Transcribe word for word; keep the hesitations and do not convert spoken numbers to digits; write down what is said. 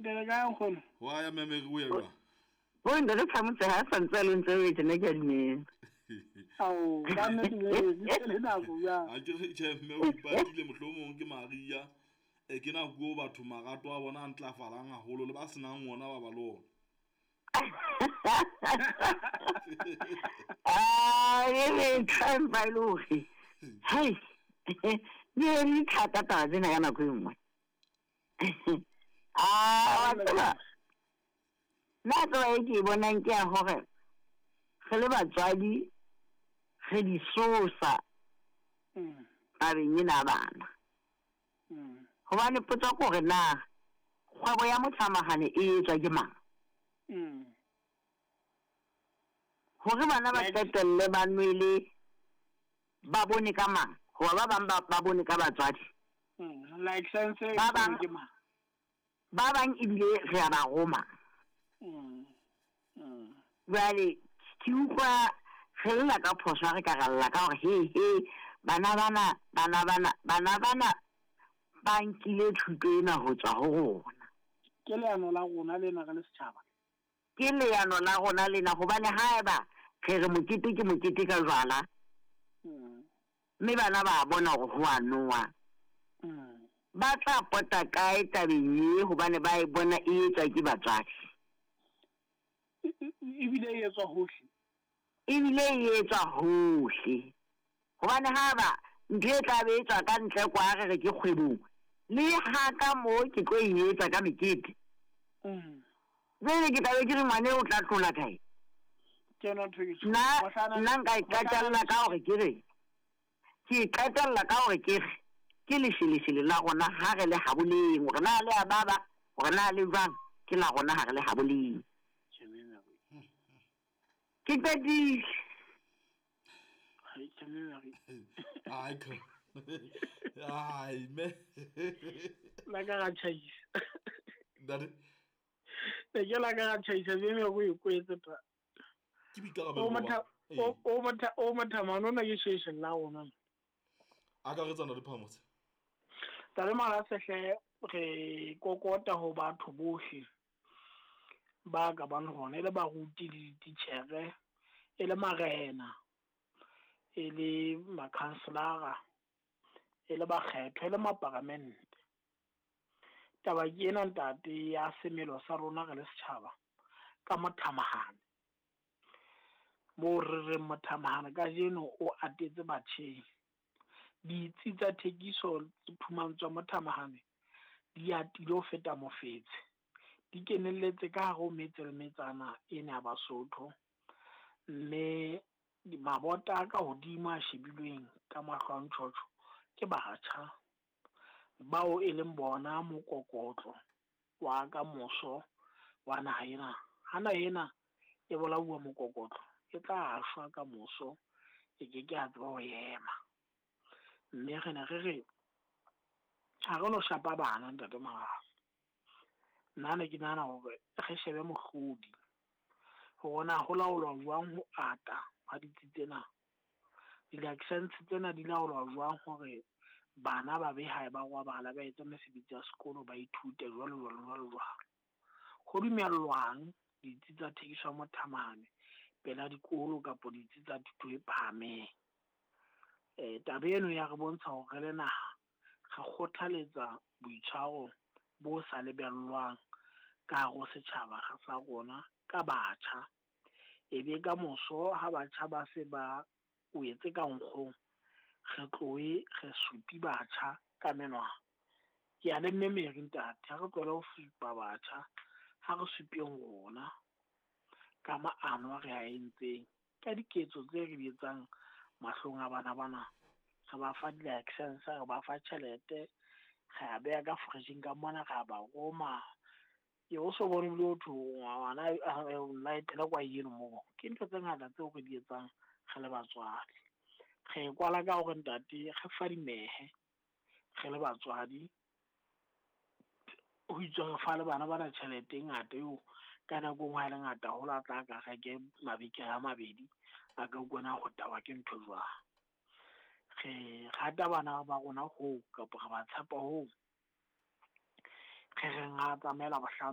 Le kae nkgono? Wa ya Mme Mary o ya jwang? Bo ntate Phamotse ha santse a le ntse o tjena ke a dumela. Ao, ka nnete le le nako jwang. A ke re tjhe mme o ipatile mohlomong ke Maria. E ke nako eo batho marato a bona a ntlafalang haholo le ba senang ona ba ba le ona. Ah, e re tshwang e le hore. Hai. Di di thata taba tsena ka nako e nngwe. Ah, wa tseba. Nna tseba e ke e bonang ke ya hore re le batswadi re di sosa Mm. tabeng ena ya bana. Mm. Hobane potso ke hore na kgwebo ya mothamahane e etswa ke mang? Mm. Hore bana ba qetelle ba nwele ba bone ka mang? Hoba ba bang ba ba bone ka batswadi. Mm. License e Ba bang ke mang? Ba bang ebile re a ba roma. Mm. Mm. Jwale ke utlwa re lla ka phoso ha re ka ra lla ka hore he he bana bana bana bana bana bana ba nkile thuto ena ho tswa ho rona. Ke leano la rona lena re le setjhaba. Ke leano la rona lena hobane haeba re re mokete ke mokete ka jwala. Mm. Mme bana ba bona hore ho a nowa. Mm. Ba tla pota kae tabeng e hobane ba e bona e etswa ke batswadi. Ebile e etswa hohle. Ebile e etswa hohle. Hobane haeba ntho e tla be etswa ka ntle kwa re re ke kgwebong, le ha ka moo ke tlo e etsa ka mekete. Mm. Jwale ke tla be ke re ngwane o tla tlola kae? Ke yona ntho e ke Nna Mohlala- nna nka e qetella ka hore ke re ke e qetella ka hore ke re ke lesheleshele la rona ha re le haboleng, hore na le a baba, hore na le jwang, ke la rona ha re le haboleng. Ke qetile. Hai, ke Mary. Ai ka. Ai me. La ka ra tjhaisa. Ntate. Ne ke la ka ra tjhaisa mme me go e kwetse ta. Ke boikarabelo O ba motha Ee. o o motha o motha manona ke sheshe la rona. Akaretsa Ntate Phamotse. Tare mara sehle re kokota ho batho bohle ba ka bang hona e le baruti le dititjhere, e le marena, e le makhanselara, e le bakgethwa, e le maparamente. Taba ke ena ntate ya semelo sa rona re le setjhaba ka mothamahane. Moo re reng mothamahane kajeno o atetse batjheng. Ditsi tsa thekiso phumantsho ya mothamahane di atile ho feta mofetshe. Di kenelletse ka hare ho metse le metsana ena ya Basotho. Mme mabota a ka hodimo a shebilweng ka mahlo a ntjhotjho ke batjha bao e leng bona mokokotlo wa kamoso wa naha ena. Ha naha ena e bolauwa mokokotlo, e tla shwa kamoso, e ke ke ya tseba ho ema. Mme re ne re re ha re no shapa bana ntate Malala. Nna ne ke nahana hore re shebe mohlodi hore na ho laolwa jwang ho ata ha ditsi tsena. Di-license tsena di laolwa jwang hore bana ba be hae ba robala, ba etse mesebetsi ya sekolo, ba ithute jwalo jwalo jwalo jwalo. Ho dumellwang ditsi tsa thekiso ya mothamahane pela dikolo kapa ditsi tsa thuto e phahameng. Eh, taba eno ya re bontsha hore re le naha re kgothaletsa boitshwaro bo sa lebellwang ka hare ho setjhaba sa rona ka batjha. Ebe ka moso ha batjha ba se ba wetse ka nkgong, re tlohe re supi batjha ka menwana. Ke a le mme Mary ntate, ha re tlohele ho supa batjha, ha re supeng rona ka maano a re a entseng, ka diketso tse re di etsang mahlong a bana bana. Re ba fa di-license, re ba fa tjhelete, re a beha ka fridge-ing ka mona, re a ba roma. Ke o so bone ebile ho thwe ngwana a laetele kwa eno moo. Ke ntho tse ngata tseo re di etsang re le batswadi. Re e kwala ka hore ntate re fadimehe re le batswadi. Ho itswe re fa le bana bana tjhelete e ngata eo ka nako e nngwe ha e le ngata haholo a tla ka reke mabenkele a mabedi a ka utlwana ho tawa ke ntho jwang. Re rata bana ba rona hoo kapa re ba tshepa hoo. Re reng ha tsamaela bohlano.